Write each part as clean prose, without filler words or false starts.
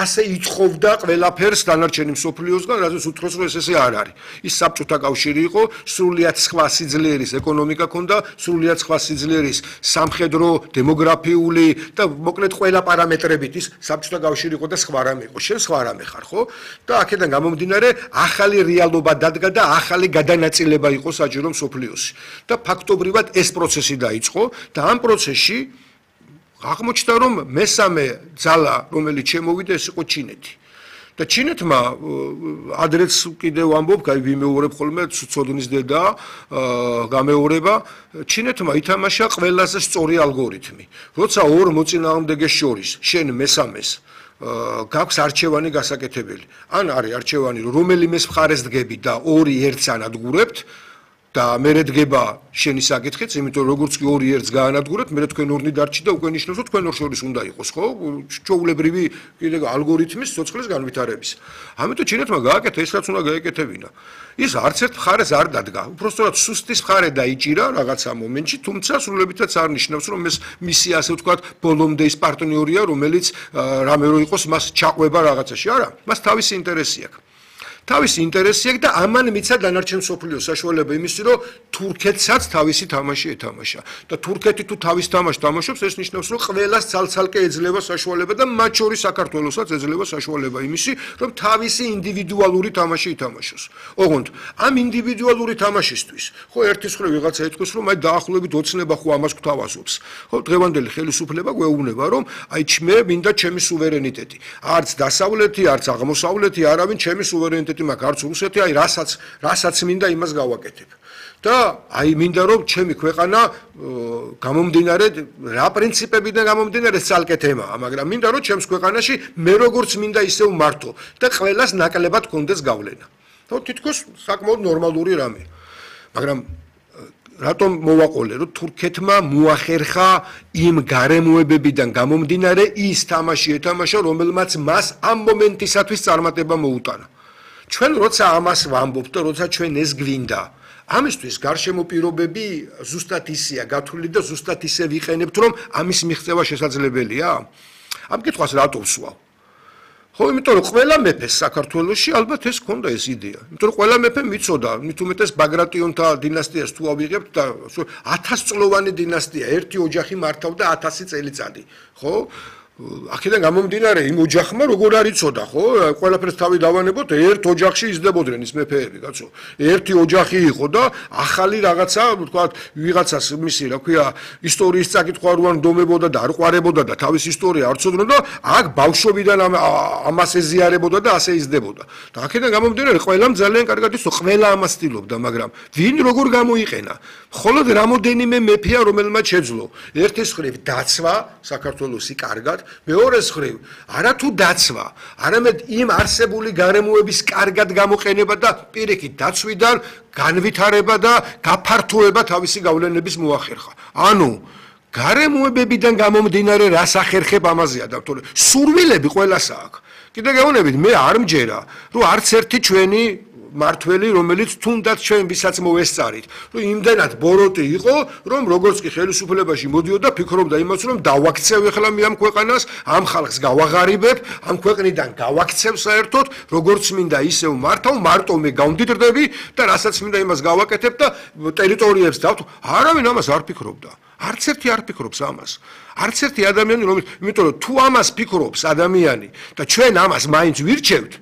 ასე იწხოვდა ყველაფერს დანარჩენი მსოფლიოსგან, რადგან უთხრობს რომ ეს არ არის. ის საბჭოთა კავშირი იყო, სრულიად სხვა სიძლიერის ეკონომიკა ქონდა, სრულიად სხვა სიძლიერის სამხედრო, დემოგრაფიული და მოკლედ ყველა პარამეტრებით ის საბჭოთა კავშირი იყო და სხვა რამე იყო. შენ სხვა რამე ხარ, ხო? და აქედან გამომდინარე, ახალი რეალობა დადგა და ახალი გადანაწილება იყო საჯარო მსოფლიოსი. და ფაქტობრივად ეს პროცესი დაიწყო და ამ პროცესში აღმოჩნდა რომ მესამე ძალა რომელიც შემოვიდა ეს იყო ჩინეთი. და ჩინეთმა ადრეც კიდევ ამბობ, ვიმეორებ ხოლმე ცოდნის დედა გამეორება, ჩინეთმა ითამაშა ყველაზე სწორი ალგორითმი. როცა ორ მოწინააღმდეგეს შორის შენ მესამეს გაქვს არჩევანი გასაკეთებელი. ან არის არჩევანი რომელიმეს მხარეს დგები და ორი ერთს ანადგურებთ და მერე დგება შენი საკითხიც, იმიტომ რომ როგორც კი ორი ერთს გაანადგურებთ, მერე თქვენ ორნი დარჩით და უკვე ნიშნავს რომ თქვენ ორ შორის უნდა იყოს, ხო? ჩვეულებრივი კიდე ალგორითმის სიცოცხლის განვითარების. ამიტომ ჩინეთმა გააკეთა ის რაც უნდა გაეკეთებინა. ის არც ერთ მხარეს არ დადგა. უბრალოდ სუსტის მხარე დაიჭირა რაღაცა მომენტში, თუმცა სრულებითაც არ ნიშნავს რომ ეს მისი ასე ვთქვათ ბოლომდე ის პარტნიორია, რომელიც რამე რო იყოს მას ჩაყვება რაღაცაში. არა, მას თავისი ინტერესი აქვს. თავისი ინტერესი აქვს და ამან მიცა დანარჩენ მსოფლიოს საშუალება იმისი, რომ თურქეთსაც თავისი თამაში ეთამაშა. და თურქეთი თუ თავის თამაშს თამაშობს, ეს ნიშნავს, რომ ყველას ცალ-ცალკე ეძლევა საშუალება და მათ შორის საქართველოსაც ეძლევა საშუალება იმისი, რომ თავისი ინდივიდუალური თამაში ითამაშოს. ოღონდ ამ ინდივიდუალური თამაშისთვის, ხო ერთის მხრივ ვიღაცა ეთქოს, რომ აი დაახლოებით ოცნება ხო ამას გვთავაზობს. ხო დღევანდელი ხელისუფლება გვეუბნება, რომ აი მე მინდა ჩემი სუვერენიტეტი. არც დასავლეთი, არც აღმოსავლეთი, არავინ ჩემი სუვერენიტეტი მაგ არც რუსეთი, აი რასაც მინდა იმას გავაკეთებ. და აი მინდა რომ ჩემი ქვეყანა გამომდინარე რა პრინციპებიდან გამომდინარე ცალკე თემაა, მაგრამ მინდა რომ ჩემს ქვეყანაში მე როგორც მინდა ისევ მართო და ყველას ნაკლებად კონდეს გავლენა. ხო თითქოს საკმაოდ ნორმალური რამე. მაგრამ რატომ მოვაყოლე რომ თურქეთმა მოახერხა იმ გარემოებებიდან გამომდინარე ის თამაში ეთამაშა, რომელმაც მას ამ მომენტისათვის წარმატება მოუტანა. ჩვენ როცა ამას ვამბობთ და როცა ჩვენ ეს გვინდა, ამისთვის გარშემო პირობები ზუსტად ისეა გათვლილი და ზუსტად ისე ვიყენებთ, რომ ამის მიღწევა შესაძლებელია? ამ კითხვას რატო ვსვავ? ხო, იმიტომ რომ ყველა მეფეს საქართველოში ალბათ ეს ჰქონდა ეს იდეა. იმიტომ რომ ყველა მეფე მიცოდა, მით უმეტეს ბაგრატიონთა დინასტიას თუ ავიღებთ და 1000 წლოვანი დინასტია, ერთი ოჯახი მართავდა 1000 წელიწადი, ხო? აქედან გამომდინარე იმ ოჯახმა როგორ არ იცოდა, ხო? ყველაფერს თავი დავანებოთ, ერთ ოჯახში იზრდებოდნენ ის მეფეები, კაცო. ერთი ოჯახი იყო და ახალი რაღაცა, ვთქვათ, ვიღაცას მისი, რა ქვია, ისტორიის წაკითხვა არ უნდომებოდა და არ ყვარებოდა და თავის ისტორია არ ცოდნოდა, აქ ბავშვობიდან ამას ეზიარებოდა და ასე იზრდებოდა. და აქედან გამომდინარე ყველამ ძალიან კარგად იცოდა, ყველა ამას ცდილობდა, მაგრამ ვინ როგორ გამოიყენა? მხოლოდ რამოდენიმე მეფეა, რომელმაც შეძლო. ერთის მხრივ დაცვა საქართველოსი კარგად, მეორეს მხრივ არათუ დაცვა, არამედ იმ არსებული გარემოების კარგად გამოყენება და პირიქით დაცვიდან განვითარება და გაფართოება თავისი გავლენების მოახერხა. ანუ გარემოებებიდან გამომდინარე რას ახერხებ ამაზეა და თორე სურვილები ყველას აქვს. კიდე გეუბნებით, მე არ მჯერა, რომ არც ერთი ჩვენი მართველი, რომელიც თუნდაც ჩვენ ვისაც მოვესწარით, რომ იმდენად ბოროტი იყო, რომ როგორც კი ხელისუფლებაში მოდიოდა, ფიქრობდა იმას, რომ დავაქცევ ახლა მე ამ ქვეყანას, ამ ხალხს გავაღარიბებ, ამ ქვეყნიდან გავაქცევ საერთოდ, როგორც მინდა ისევ მართავ, მარტო მე გავმდიდრდები და რასაც მინდა იმას გავაკეთებ და ტერიტორიებს დავთ. არავინ ამას არ ფიქრობდა. არც ერთი არ ფიქრობს ამას. არც ერთი ადამიანი, იმიტომ რომ თუ ამას ფიქრობს ადამიანი და ჩვენ ამას მაინც ვირჩევთ,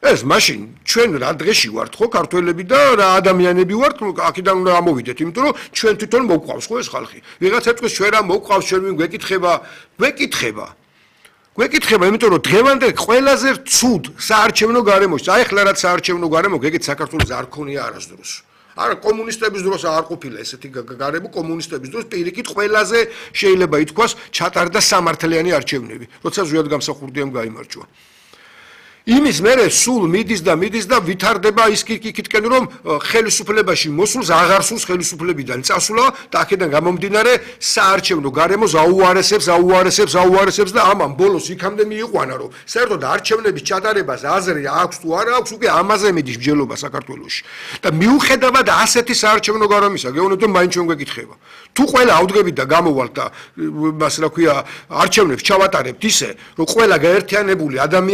ეს მაშინ ჩვენ რა დღეში ვართ ხო ქართველები და რა ადამიანები ვართ აქედან უნდა ამოვიდეთ, იმიტომ რომ ჩვენ თვითონ მოვყავს ხო ეს ხალხი. ვიღაცა თქოს ჩვენ რა მოვყავს, ჩვენ ვინ გვეკითხება, იმიტომ რომ დღევანდელ ყველაზე ცუდ საარჩევნო გარემოში, აი ხლა რაც საარჩევნო გარემო, გეგეთ საქართველოს არ ქონია არასდროს. არა კომუნისტების დროს არ ყოფილა ესეთი გარემო, კომუნისტების დროს პირიქით ყველაზე შეიძლება ითქვას ჩატარდა სამართლიანი არჩევნები, როცა ზვიად გამსახურდიამ გაიმარჯვა. იმის მერე სულ მიდის და ვითარდება ის კითკენ რომ ხელისუფლებაში მოსულს აღარ სულს ხელისუფლებიდან წასვლა და აქედან გამომდინარე საარჩევნო გარემო აუარესებს და ამან ბოლოს იქამდე მიიყვანა რომ საერთოდ არჩევნების ჩატარებას აზრი აქვს თუ არა აქვს უკვე ამაზე მიდის მსჯელობა საქართველოში და მიუხედავად ასეთი საარჩევნო გარემოსა გეუბნებით რომ მაინც ჩვენ გვეკითხება თუ ყველა ავდგებით და გამოვალთ და მას რა ქვია არჩევნებს ჩავატარებთ ისე რომ ყველა გაერთიანებული ადამიანი